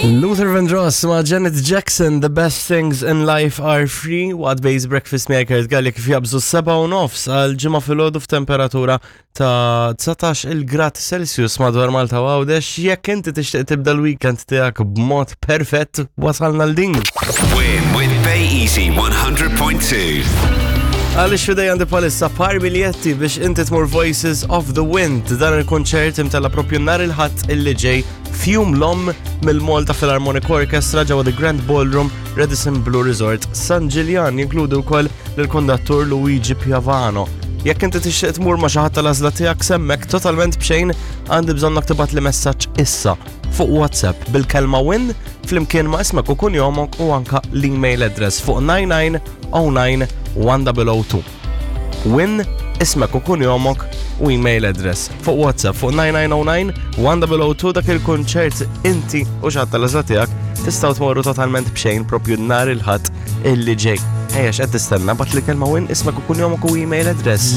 Luther Vandross ma' Janet Jackson, The Best Things in Life Are Free, waqt Base Breakfast miegħek Kurt Galli kif jabżu 7:30 għal ġimgħa filgħodu f'temperatura ta' 19 il-grad Celsius madwar Malta u Għawdex. Jekk inti tixtieq tibda l-weekend tiegħek b'mod perfett, wasalna l din. Win with Bay Easy 100.2. Għalix fidej għandi palissa par biljetti biex inti tmur Voices of the Wind, dan il-konċert imtella propju nar il-ħadd illi ġej fjum l-om mill-Malta Philharmonic Orchestra ġewwa The Grand Ballroom, Radisson Blu Resort, San Ġiljan, jinkludu wkoll lill-kondattur Luigi Piavano. Jekk inti tixtieq tmur ma' xi ħadd tal-għażla tiegħek semmek totalment b'xejn, għandi bżonnok tibgħatli messaġġ issa fuq WhatsApp bil-kelma win flimkien ma' ismek u kunjomok u anka l-email address fuq 9909 1002. Win, ismek u kunjomok u email address fuq WhatsApp fuq 9909 1002. Dak il-kunċert inti u xi ħadd tal-għażla tiegħek tistgħu tmorru totalment b'xejn propju nhar il-Ħadd illi ġej. Ejja, x'qed tistenna, bagħtli kelma win, ismek u kunjomok u email address.